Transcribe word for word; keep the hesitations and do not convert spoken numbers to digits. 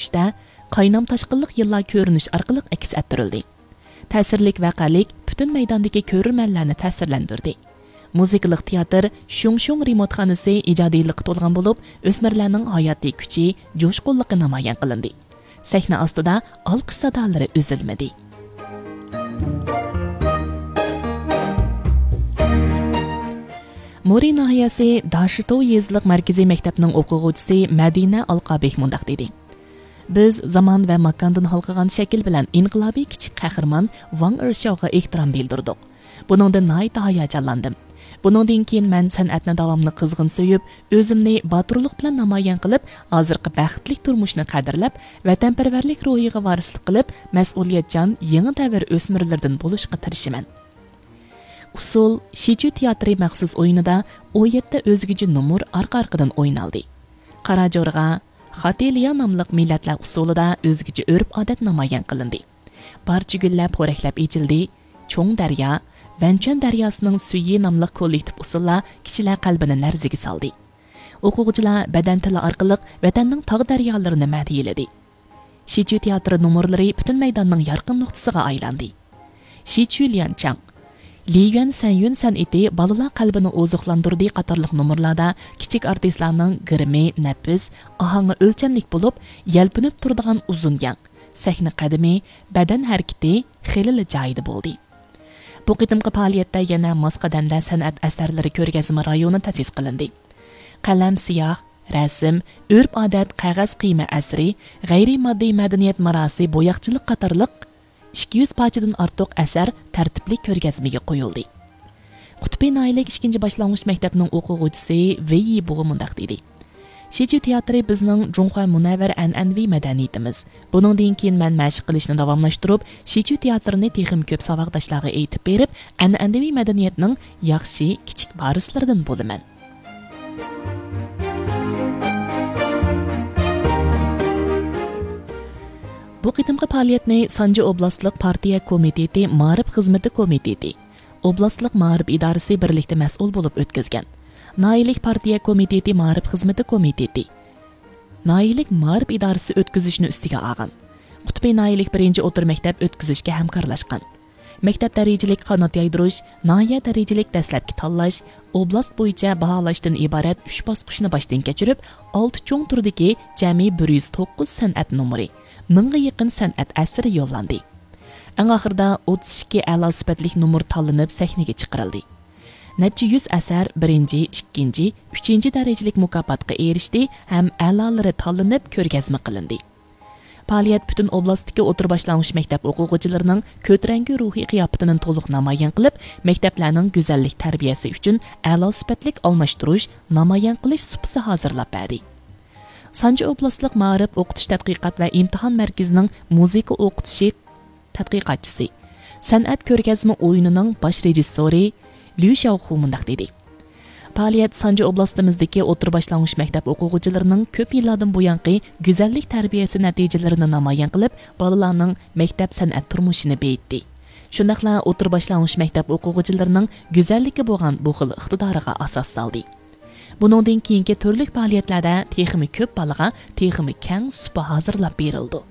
ئىچىدە قاينام تاشقىنلىق يىللار كۆرۈنۈش ئارقىلىق ئەكس ئەتتۈرۈلدى. تەسىرلىك ۋەقەلىك پۈتۈن مەيداندىكى كۆرۈرمەنلەرنى تەسىرلەندۈردى. مۇزىكىلىق تىياتىر شۇڭشۇڭ رېمونتخانىسى ئىجادىيلىققا تولغان بولۇپ، ئۆسمۈرلەرنىڭ ھاياتىي كۈچى، جۇشقۇنلۇقى نامايان قىلىندى. سەھنە ئاستىدا ئالقىش سادالىرى ئۈزۈلمىدى. مورى ناھىيەسى داشىتوۋ يېزىلىق مەركىزىي مەكتەپنىڭ ئوقۇغۇچىسى مەدىنە ئالقابېك مۇنداق دېدى: بىز زامان ۋە ماكاندىن ھالقىغان شەكىل بىلەن ئىنقىلابىي كىچىك قەھرىمان ۋاڭ ئېرشاۋغا ئېھتىرام بىلدۈردۇق. بۇنىڭدىن ناھايىتى ھاياجانلاندىم. بۇنىڭدىن كېيىن مەن سەنئەتنى داۋاملىق قىزغىن سۆيۈپ، ئۆزۈمنى باتۇرلۇق بىلەن نامايان قىلىپ، ھازىرقى بەختلىك تۇرمۇشنى قەدىرلەپ، ۋەتەنپەرۋەرلىك روھىغا ۋارىسلىق قىلىپ، مەسئۇلىيەتچان يېڭى دەۋر ئۆسمۈرلىرىدىن بولۇشقا تىرىشىمەن. ئۇسسۇل شىچۈ تىياتىرى مەخسۇس ئويۇنىدا ئون يەتتە ئۆزگىچە نومۇر ئارقا-ئارقىدىن ئوينالدى. قارا جورغا، خاتىليا ناملىق مىللەتلەر ئۇسسۇلىدا ئۆزگىچە ئۆرپ-ئادەت نامايان قىلىندى. بارچە گۈللەر پورەكلەپ ئېچىلدى. چوڭ دەريا، ۋەنچۈەن دەرياسىنىڭ سۈيى ناملىق كوللېكتىپ ئۇسسۇللار كىشىلەر قەلبىنى لەرزىگە سالدى. ئوقۇغۇچىلار بەدەن تىلى ئارقىلىق ۋەتەننىڭ تاغ دەريالىرىنى مەدھىيەلىدى. شىچۈ تىياتىرى نومۇرلىرى پۈتۈن مەيداننىڭ يارقىن نۇقتىسىغا ئايلاندى. شىچۈ ليەنچاڭ، لىيۈەن سەنيۈن سەنئىتى بالىلار قەلبىنى ئوزۇقلاندۇردى قاتارلىق نومۇرلاردا كىچىك ئارتىسلارنىڭ گىرىمى نەپىس، ئاھاڭى ئۆلچەملىك بولۇپ، يەلپۈنۈپ تۇرىدىغان ئۇزۇن يەڭ، سەھنە قەدىمى، بەدەن ھەرىكىتى خېلىلا جايىدا بولدى. بۇ قېتىمقى پائالىيەتتە يەنە ماس قەدەمدە سەنئەت ئەسەرلىرى كۆرگەزمە رايونى تەسىس قىلىندى. قەلەم، سىياھ، رەسىم، ئۆرپ-ئادەت، قەغەز قىيما ئەسىرى، غەيرىي ماددىي مەدەنىيەت مىراسى، بوياقچىلىق قاتارلىق ئىككى يۈز پارچىدىن ئارتۇق ئەسەر تەرتىپلىك كۆرگەزمىگە قويۇلدى. قۇتبى ناھىيەلىك ئىككىنچى باشلانغۇچ مەكتەپنىڭ ئوقۇغۇچىسى ۋېي يىبۇغا مۇنداق دېدى: شىچۈ تىياتىرى بىزنىڭ جۇڭخۇا مۇنەۋۋەر ئەنئەنىۋى مەدەنىيىتىمىز. بۇنىڭدىن كېيىن مەن مەشىق قىلىشنى داۋاملاشتۇرۇپ، شىچۈ تىياتىرىنى تېخىمۇ كۆپ ساۋاقداشلارغا ئېيتىپ بېرىپ، ئەنئەنىۋى مەدەنىيەتنىڭ ياخشى كىچىك ۋارىسلىرىدىن بولىمەن. بۇ قېتىمقى پائالىيەتنى سانجى ئوبلاستلىق پارتىيە كومىتېتى مائارىپ خىزمىتى كومىتېتى، ئوبلاستلىق مائارىپ ئىدارىسى بىرلىكتە مەسئۇل بولۇپ ئۆتكۈزگەن. ناھىيەلىك پارتىيە كومىتېتى مائارىپ خىزمىتى كومىتېتى، ناھىيەلىك مائارىپ ئىدارىسى ئۆتكۈزۈشنى ئۈستىگە ئالغان. قۇتبى ناھىيەلىك بىرىنچى ئوتتۇرا مەكتەپ ئۆتكۈزۈشكە ھەمكارلاشقان. مەكتەپ دەرىجىلىك قانات يايدۇرۇش، ناھىيە دەرىجىلىك دەسلەپكى تاللاش، ئوبلاست بويىچە باھالاشتىن ئىبارەت ئۈچ باسقۇچنى باشتىن كەچۈرۈپ، ئالتە چوڭ تۈردىكى جەمئىي بىر يۈز توققۇز سەنئەت نومۇرى، مىڭغا يېقىن سەنئەت ئەسىرى يوللاندى. ئەڭ ئاخىرىدا ئوتتۇز ئىككى ئەلا سۈپەتلىك نومۇر تاللىنىپ سەھنىگە چىقىرىلدى. نەچچە يۈز ئەسەر بىرىنچى، ئىككىنچى، ئۈچىنچى دەرىجىلىك مۇكاپاتقا ئېرىشتى ھەم ئەلالىرى تاللىنىپ كۆرگەزمە قىلىندى. پائالىيەت پۈتۈن ئوبلاستتىكى ئوتتۇرا باشلانغۇچ مەكتەپ ئوقۇغۇچىلىرىنىڭ كۆتۈرەڭگۈ روھىي قىياپىتىنى تولۇق نامايان قىلىپ، مەكتەپلەرنىڭ گۈزەللىك تەربىيەسى ئۈچۈن ئەلا سۈپەتلىك ئالماشتۇرۇش، نامايان قىلىش سۇپىسى ھازىرلاپ بەردى. سانجى ئوبلاستلىق مائارىپ ئوقۇتۇش تەتقىقات ۋە ئىمتىھان مەركىزىنىڭ مۇزىكا ئوقۇتۇشى تەتقىقاتچىسى، سەنئەت كۆرگەزمە ئويۇنىنىڭ باش رېژىسسورى ليۇ شياۋخۇ مۇنداق دېدى: پائالىيەت سانجى ئوبلاستىمىزدىكى ئوتتۇرا باشلانغۇچ مەكتەپ ئوقۇغۇچىلىرىنىڭ كۆپ يىللاردىن بۇيانقى گۈزەللىك تەربىيەسى نەتىجىلىرىنى نامايان قىلىپ، بالىلارنىڭ مەكتەپ سەنئەت تۇرمۇشىنى بېيىتتى. شۇنداقلا ئوتتۇرا باشلانغۇچ مەكتەپ ئوقۇغۇچىلىرىنىڭ گۈزەللىككە بولغان بۇ خىل ئىقتىدارىغا ئاساس سالدى. بۇنىڭدىن كېيىنكى تۈرلۈك پائالىيەتلەردە تېخىمۇ كۆپ بالىغا تېخىمۇ كەڭ سۇپا ھازىرلاپ بېرىلىدۇ.